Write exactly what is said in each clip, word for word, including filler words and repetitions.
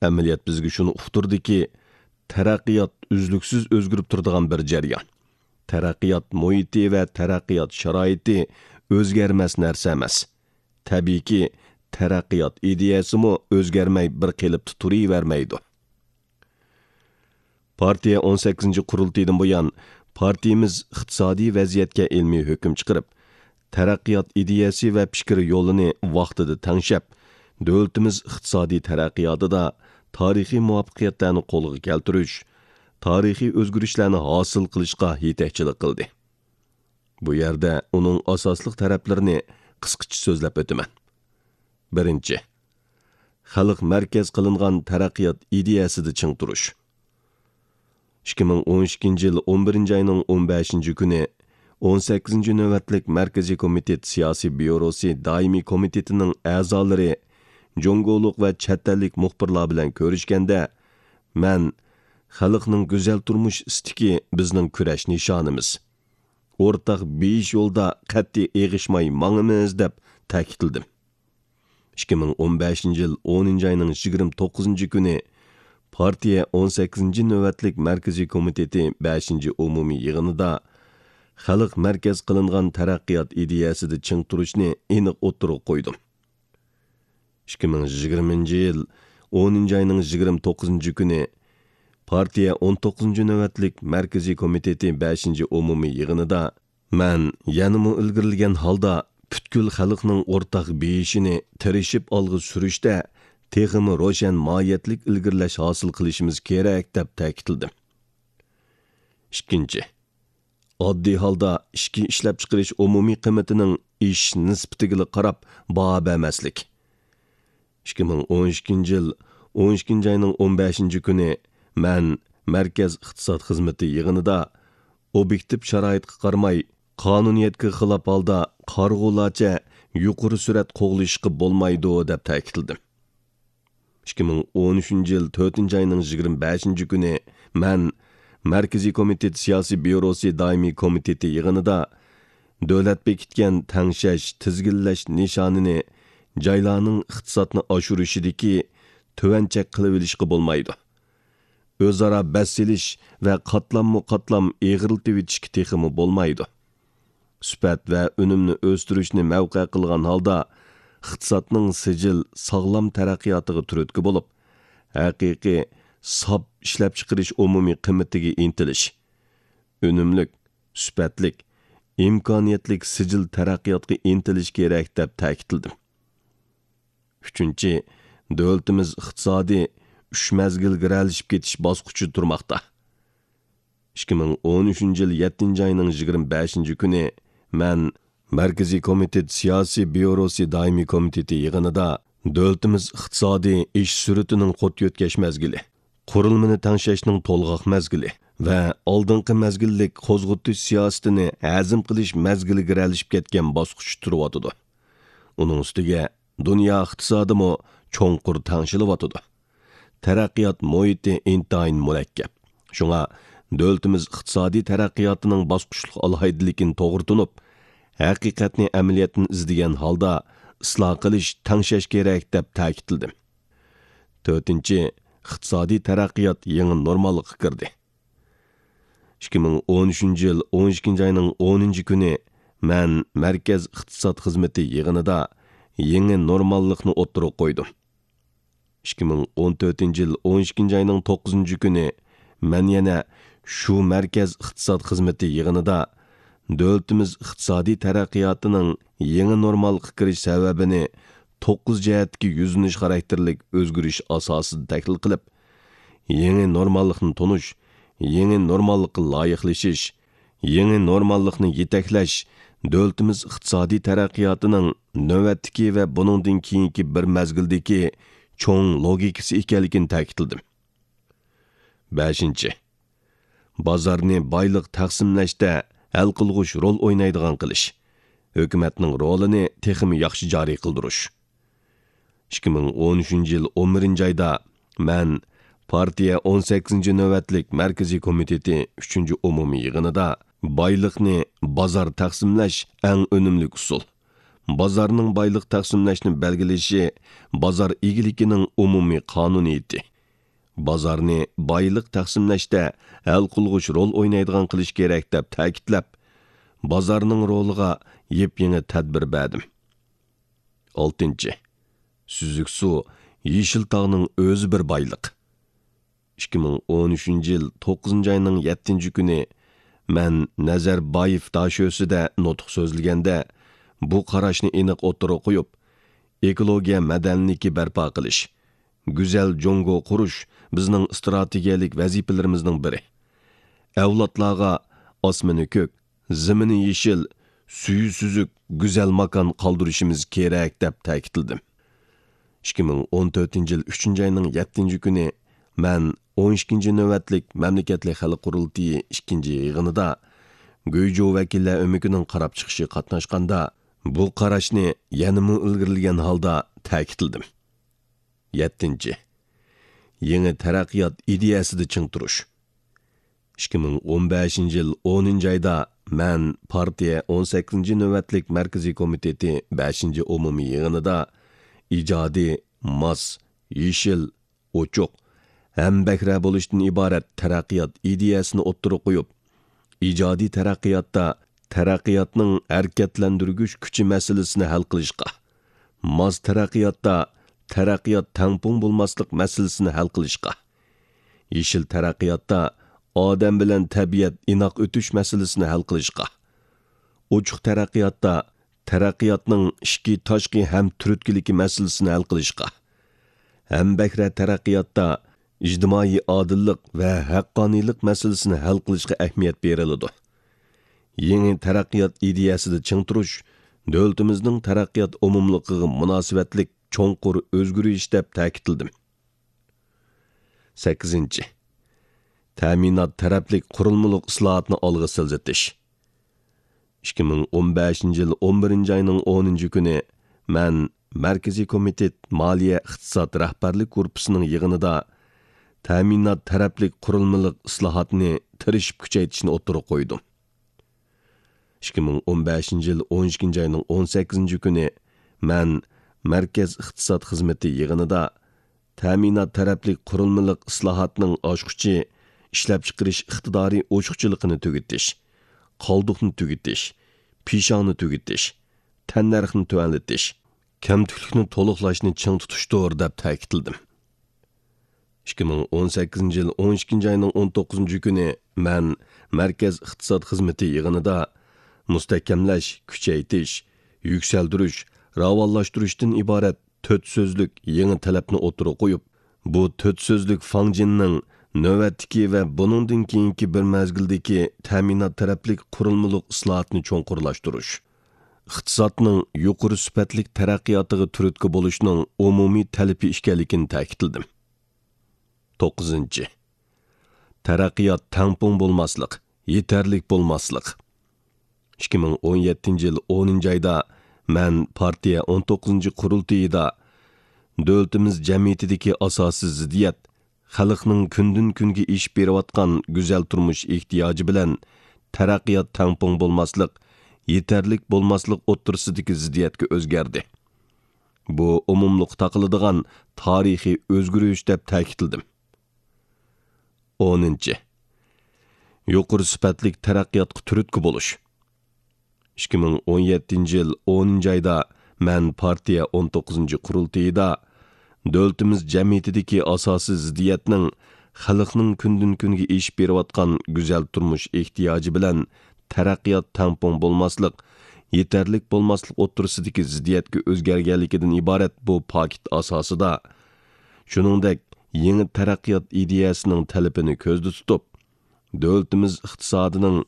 ئەمەلىيەت بىزگە شۇنى ئۇقتۇردىكى، تەرەققىيات ئۈزلۈكسىز ئۆزگىرىپ تۇرىدىغان بىر جەريان. تەرەققىيات مۇھىتى ۋە تەرەققىيات شارائىتى ئۆزگەرمەس نەرسە ئەمەس. تەبىئىيكى، تەرەققىيات ئىدىيەسىمۇ ئۆزگەرمەي بىر قېلىپتا تۇرۇۋەرمەيدۇ. پارتىيە ئون سەككىزىنچى قۇرۇلتىيىدىن بۇيان، پارتىيىمىز ئىقتىسادىي ۋەزىيەتكە ئىلمىي ھۆكۈم چىقىرىپ، تەرەققىيات ئىدىيەسى ۋە پىكىر يولىنى ۋاقتىدا تەڭشەپ، دۆلىتىمىز ئىقتىسادىي تەرەققىياتىدا تارىخىي مۇۋەپپەقىيەتلەرنى قولغا كەلتۈرۈش، تارىخىي ئۆزگىرىشلەرنى ھاسىل قىلىشقا يېتەكچىلىك قىلدى. بۇ يەردە ئۇنىڭ ئاساسلىق تەرەپلىرىنى قىسقىچە سۆزلەپ ئۆتىمەن. بىرىنچى، خەلق مەركەز قىلىنغان تەرەققىيات ئىدىيەسىدە چىڭ تۇرۇش. ئىككى مىڭ ئون ئىككىنچى يىل ئون بىرىنچى ئاينىڭ ئون بەشىنچى كۈنى ئون سەككىزىنچى نۆۋەتلىك مەركىزىي كومىتېت سىياسىي بيۇروسى دائىمىي كومىتېتىنىڭ ئەزالىرى، جۇڭگولۇق ۋە چەت ئەللىك مۇخبىرلار بىلەن كۆرۈشكەندە، مەن، «خەلقنىڭ گۈزەل تۇرمۇش ئىستىكى بىزنىڭ كۈرەش نىشانىمىز. ئورتاق بېيىش يولىدا قەتئىي ئېغىشماي ماڭىمىز» دەپ تەكىتلىدىم. ئىككى مىڭ ئون بەشىنچى يىل ئونىنچى ئاينىڭ يىگىرمە توققۇزىنچى كۈنى پارتىيە ئون سەككىزىنچى نۆۋەتلىك مەركىزىي كومىتېتى بەشىنچى ئومۇمىي يىغىنىدا خەلق مەركەز قىلىنغان تەرەققىيات ئىدىيەسىدە چىڭ تۇرۇشنى ئېنىق ئوتتۇرىغا قويدۇم. ئىككى مىڭ يىگىرمىنچى يىل ئونىنچى ئاينىڭ يىگىرمە توققۇزىنچى كۈنى پارتىيە ئون توققۇزىنچى نۆۋەتلىك مەركىزىي كومىتېتى بەشىنچى ئومۇمىي يىغىنىدا مەن يەنىمۇ ئىلگىرىلىگەن ھالدا پۈتكۈل خەلقنىڭ ئورتاق بېيىشىنى تىرىشىپ ئالغا سۈرۈشتە تېخىمۇ روشەن ماھىيەتلىك ئىلگىرىلەش ھاسىل قىلىشىمىز كېرەك دەپ تەكىتلىدىم. ئىككىنچى، ئاددىي ھالدا ئىچكى ئىشلەپچىقىرىش ئومۇمىي قىممىتىنىڭ ئېشىش نىسبىتىگىلا قاراپ باھا بەرمەسلىك. ئىككى مىڭ ئون ئىككىنچى يىل ئون ئىككىنچى ئاينىڭ ئون بەشىنچى كۈنى مەن مەركەز ئىقتىساد خىزمىتى يىغىنىدا ئوبيېكتىپ شارائىتقا قارىماي، قانۇنىيەتكە خىلاپ ھالدا قارىغۇلارچە يۇقىرى سۈرئەت قوغلىشىشقا بولمايدۇ، دەپ تەكىتلىدىم. ئىككى مىڭ ئون ئۈچىنچى يىل تۆتىنچى ئاينىڭ يىگىرمە بەشىنچى كۈنى مەن مەركىزىي كومىتېت سىياسىي بيۇروسى دائىمىي كومىتېتى يىغىنىدا دۆلەت بېكىتكەن تەڭشەش، تىزگىنلەش نىشانىنى جايلارنىڭ ئىقتىسادنى ئاشۇرۇشىدىكى تۆۋەن چەك قىلىۋېلىشقا بولمايدۇ. ئۆزئارا بەس سېلىش ۋە قاتلاممۇ قاتلام ئېغىرلىتىۋېتىشكە تېخىمۇ بولمايدۇ. سۈپەت ۋە ئۈنۈمنى ئۆستۈرۈشنى مەۋقە قىلغان ھالدا، ئىقتىسادنىڭ سىجىل، ساغلام تەرەققىياتىغا تۈرتكە بولۇپ، ھەقىقىي، ساپ ئىشلەپچىقىرىش ئومۇمىي قىممىتىگە ئىنتىلىش، ئۈنۈملۈك، سۈپەتلىك، ئىمكانىيەتلىك سىجىل تەرەققىياتقا ئىنتىلىش كېرەك، دەپ تەكىتلىدىم. ئۈچىنچى، دۆلىتىمىز ئىقتىسادىي ئۈچ مەزگىلگە گىرەلىشىپ كېتىش باسقۇچىدا تۇرماقتا. ئىككى مىڭ ئون ئۈچىنچى يىل يەتتىنچى ئاينىڭ يىگىرمە بەشىنچى كۈنى مەن مەركىزىي كومىتېت سىياسىي بيۇروسى دائىمىي كومىتېتى يىغىنىدا دۆلىتىمىز ئىقتىسادىي ئېشىش سۈرئىتىنىڭ قۇت يۆتكەش مەزگىلى، قۇرۇلمىنى تەڭشەشنىڭ تولغاق مەزگىلى ۋە ئالدىنقى مەزگىللىك قوزغىتىش سىياسىتىنى ھەزىم قىلىش مەزگىلىگە گىرەلىشىپ كەتكەن باسقۇچتا تۇرۇۋاتىدۇ. ئۇنىڭ ئۈستىگە دۇنيا ئىقتىسادىمۇ چوڭقۇر تەڭشىلىۋاتىدۇ. تەرەققىيات مۇھىتى ئىنتايىن مۇرەككەپ. شۇڭا دۆلىتىمىز ئىقتىسادىي تەرەققىياتىنىڭ باسقۇچلۇق ئالاھىدىلىكىنى توغرا تونۇپ، ھەقىقەتنى ئەمەلىيەتتىن ئىزدىگەن ھالدا ئىسلاھ قىلىش، تەڭشەش كېرەك، دەپ تەكىتلىدىم. تۆتىنچى، ئىقتىسادىي تەرەققىيات يېڭى نورماللىققا كىردى. ئىككى مىڭ ئون ئۈچىنچى يىل ئون ئىككىنچى ئاينىڭ ئونىنچى كۈنى مەن مەركەز ئىقتىساد خىزمىتى يىغىنىدا يېڭى نورماللىقنى ئوتتۇرىغا قويدۇم. ئىككى مىڭ ئون تۆتىنچى يىل ئون ئىككىنچى ئاينىڭ توققۇزىنچى كۈنى مەن يەنە شۇ مەركەز ئىقتىساد خىزمىتى يىغىنىدا دۆلىتىمىز ئىقتىسادىي تەرەققىياتىنىڭ يېڭى نورماللىققا كىرىش سەۋەبىنى توققۇز جەھەتتىكى يۈزلىنىش خاراكتېرلىك ئۆزگىرىش ئاساسىدا تەھلىل قىلىپ، يېڭى نورماللىقنى تونۇش، يېڭى نورماللىققا لايىقلىشىش، يېڭى نورماللىقنى يېتەكلەش دۆلىتىمىز ئىقتىسادىي تەرەققىياتىنىڭ نۆۋەتتىكى ۋە بۇنىڭدىن كېيىنكى بىر مەزگىلدىكى چوڭ لوگىكىسى ئىكەنلىكىنى تەكىتلىدىم. بەشىنچى، بازارنى بايلىق تەقسىملەشتە ھەل قىلغۇچ رول ئوينايدىغان قىلىش، ھۆكۈمەتنىڭ رولىنى تېخىمۇ ياخشى جارى قىلدۇرۇش. ئىككى مىڭ ئون ئۈچىنچى يىل ئون بىرىنچى ئايدا مەن پارتىيە ئون سەككىزىنچى نۆۋەتلىك مەركىزىي كومىتېتى ئۈچىنچى ئومۇمىي يىغىنىدا بايلىقنى بازار تەقسىملەش ئەڭ ئۈنۈملۈك ئۇسۇل، بازارنىڭ بايلىق تەقسىملەشنى بەلگىلىشى بازار ئىگىلىكىنىڭ ئومۇمىي قانۇنىيىتى، بازارنى بايلىق تەقسىملەشتە ھەل قىلغۇچ رول ئوينايدىغان قىلىش كېرەك دەپ تەكىتلەپ، بازارنىڭ رولىغا يېپيېڭى تەدبىر بەردىم. ئالتىنچى، سۈزۈك سۇ، يېشىل تاغنىڭ ئۆزى بىر بايلىق. ئىككى مىڭ ئون ئۈچىنچى يىل توققۇزىنچى ئاينىڭ يەتتىنچى كۈنى مەن نەزەربايېف داشۆسىدە نۇتۇق سۆزلىگەندە، بۇ قاراشنى ئېنىق ئوتتۇرىغا قويۇپ، ئېكولوگىيە مەدەنىيلىكى بەرپا قىلىش، گۈزەل جۇڭگو قۇرۇش بىزنىڭ ئىستراتېگىيەلىك ۋەزىپىلىرىمىزنىڭ بىرى. ئەۋلادلارغا ئاسمىنى كۆك، زېمىنى يېشىل، سۈيى سۈزۈك، گۈزەل ماكان قالدۇرۇشىمىز كېرەك، دەپ تەكىتلىدىم. ئىككى مىڭ ئون تۆتىنچى يىل ئۈچىنچى ئاينىڭ يەتتىنچى كۈنى مەن ئون ئىككىنچى نۆۋەتلىك مەملىكەتلىك خەلق قۇرۇلتىيى ئىككىنچى يىغىنىدا گۇيجۇ ۋەكىللەر ئۆمىكىنىڭ قاراپ چىقىشىغا قاتناشقاندا، بۇ قاراشنى يەنىمۇ ئىلگىرىلىگەن ھالدا تەكىتلىدىم. يەتتىنچى، يېڭى تەرەققىيات ئىدىيەسىدە چىڭ تۇرۇش. ئىككى مىڭ ئون بەشىنچى يىل ئونىنچى ئايدا مەن پارتىيە ئون سەككىزىنچى نۆۋەتلىك مەركىزىي كومىتېتى بەشىنچى ئومۇمىي يىغىنىدا ئىجادىي، ماس، يېشىل، ئوچۇق، ھەمبەھرە بولۇشتىن ئىبارەت تەرەققىيات ئىدىيەسىنى ئوتتۇرىغا قويۇپ، ئىجادىي تەرەققىياتتا تەرەققىياتنىڭ ھەرىكەتلەندۈرگۈچ كۈچى مەسىلىسىنى ھەل قىلىشقا، ماس تەرەققىياتتا تەرەققىيات تەڭپۇڭ بولماسلىق مەسىلىسىنى ھەل قىلىشقا، يېشىل تەرەققىياتتا ئادەم بىلەن تەبىئەت ئىناق ئۆتۈش مەسىلىسىنى ھەل قىلىشقا، ئوچۇق تەرەققىياتتا تەرەققىياتنىڭ ئىچكى تاشقى ھەم تۈرتكىلىكى مەسىلىسىنى ھەل قىلىشقا، ھەمبەھرە تەرەققىياتتا ئىجتىمائىي ئادىللىق ۋە ھەققانىيلىق مەسىلىسىنى ھەل قىلىشقا ئەھمىيەت بېرىلىدۇ. يېڭى تەرەققىيات ئىدىيەسىدە چىڭ تۇرۇش دۆلىتىمىزنىڭ تەرەققىيات ئومۇملۇقىغا مۇناسىۋەتلىك چوڭقۇر ئۆزگىرىش، دەپ تەكىتلىدىم. سەككىزىنچى، تەمىنات تەرەپلىك قۇرۇلمىلىق ئىسلاھاتنى ئالغا سىلجىتىش. ئىككى مىڭ ئون بەشىنچى يىل ئون بىرىنچى ئاينىڭ ئونىنچى كۈنى مەن مەركىزىي كومىتېت مالىيە ئىقتىساد رەھبەرلىك گۇرۇپپىسىنىڭ يىغىنىدا تەمىنات تەرەپلىك قۇرۇلمىلىق ئىسلاھاتنى تىرىشىپ كۈچەيتىشنى ئوتتۇرىغا قويدۇم. ئىككى مىڭ ئون بەشىنچى يىل ئون ئىككىنچى ئاينىڭ ئون سەككىزىنچى كۈنى مەن مەركەز ئىقتىساد خىزمىتى يىغىنىدا تەمىنات تەرەپلىك قۇرۇلمىلىق ئىسلاھاتنىڭ ئاچقۇچى ئىشلەپچىقىرىش ئىقتىدارى ئوشۇقچىلىقىنى تۈگىتىش، قالدۇقنى تۈگىتىش، پىشاڭنى تۈگىتىش، تەننەرخنى تۆۋەنلىتىش، كەمتۈكلۈكنى تولۇقلاشنى چىڭ تۇتۇشتۇر، دەپ تەكىتلىدىم. ئىككى مىڭ ئون سەككىزىنچى يىل ئون ئىككىنچى ئاينىڭ ئون توققۇزىنچى كۈنى مەن مەركەز ئىقتىساد خىزمىتى يىغىنىدا مۇستەھكەملەش، كۈچەيتىش، يۈكسەلدۈرۈش، راۋانلاشتۇرۇشتىن ئىبارەت تۆت سۆزلۈك يېڭى تەلەپنى ئوتتۇرىغا قويۇپ، بۇ تۆت سۆزلۈك فاڭجىننىڭ نۆۋەتتىكى ۋە بۇنىڭدىن كېيىنكى بىر مەزگىلدىكى تەمىنات تەرەپلىك قۇرۇلمىلىق ئىسلاھاتنى چوڭقۇرلاشتۇرۇش، ئىقتىسادنىڭ يۇقىرى سۈپەتلىك تەرەققىياتىغا تۈرتكە بولۇشنىڭ ئومۇمىي تەلىپى ئىكەنلىكىنى تەكىتلىدىم. توققۇزىنچى، تەرەققىيات تەڭپۇڭ بولماسلىق، يېتەرلىك بولماسلىق. ئىككى مىڭ ئون يەتتىنچى يىل ئونىنچى ئايدا مەن پارتىيە ئون توققۇزىنچى قۇرۇلتىيىدا دۆلىتىمىز جەمئىيىتىدىكى ئاساسىي زىددىيەت، خەلقنىڭ كۈندىن كۈنگە ئېشىپ بېرىۋاتقان گۈزەل تۇرمۇش ئېھتىياجى بىلەن تەرەققىيات تەڭپۇڭ بولماسلىق، يېتەرلىك بولماسلىق ئوتتۇرىسىدىكى زىددىيەتكە ئۆزگەردى. بۇ ئومۇملۇققا تاقىلىدىغان تارىخىي ئۆزگىرىش، دەپ تەكىتلىدىم. ئونىنچى، يۇقىرى سۈپەتلىك تەرەققىياتقا تۈرتكە بولۇش. ئىككى مىڭ ئون يەتتىنچى يىل ئونىنچى ئايدا مەن پارتىيە ئون توققۇزىنچى قۇرۇلتىيىدا دۆلىتىمىز جەمئىيىتىدىكى ئاساسىي زىددىيەتنىڭ خەلقنىڭ كۈندىن كۈنگە ئېشىپ بېرىۋاتقان گۈزەل تۇرمۇش ئېھتىياجى بىلەن تەرەققىيات تەڭپۇڭ بولماسلىق، يېتەرلىك بولماسلىق ئوتتۇرىسىدىكى زىددىيەتكە ئۆزگەرگەنلىكىدىن ئىبارەت بۇ پاكىت ئاساسىدا، شۇنىڭدەك يېڭى تەرەققىيات ئىدىيەسىنىڭ تەلىپىنى كۆزدە تۇتۇپ، دۆلىتىمىز ئىقتىسادىنىڭ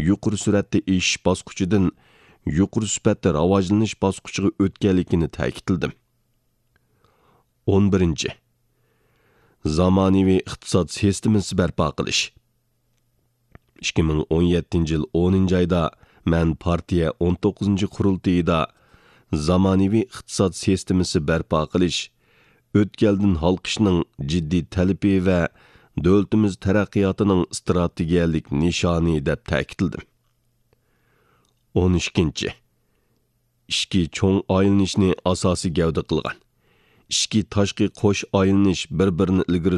يۇقىرى سۈرئەتتە ئېشىش باسقۇچىدىن يۇقىرى سۈپەتتە راۋاجلىنىش باسقۇچىغا ئۆتكەنلىكىنى تەكىتلىدىم. ئون بىرىنچى، زامانىۋى ئىقتىساد سىستېمىسى بەرپا قىلىش. ئىككى مىڭ ئون يەتتىنچى يىل ئونىنچى ئايدا مەن پارتىيە ئون توققۇزىنچى قۇرۇلتىيىدا زامانىۋى ئىقتىساد سىستېمىسى بەرپا قىلىش، ئۆتكەلدىن ھالقىشنىڭ جىددىي تەلىپى ۋە دۆلىتىمىز تەرەققىياتىنىڭ ئىستراتېگىيەلىك نىشانى، دەپ تەكىتلىدىم. ئون ئىككىنچى، ئىچكى چوڭ ئايلىنىشنى ئاساسىي گەۋدە قىلغان، ئىچكى تاشقى قوش ئايلىنىش بىر-بىرىنى ئىلگىرى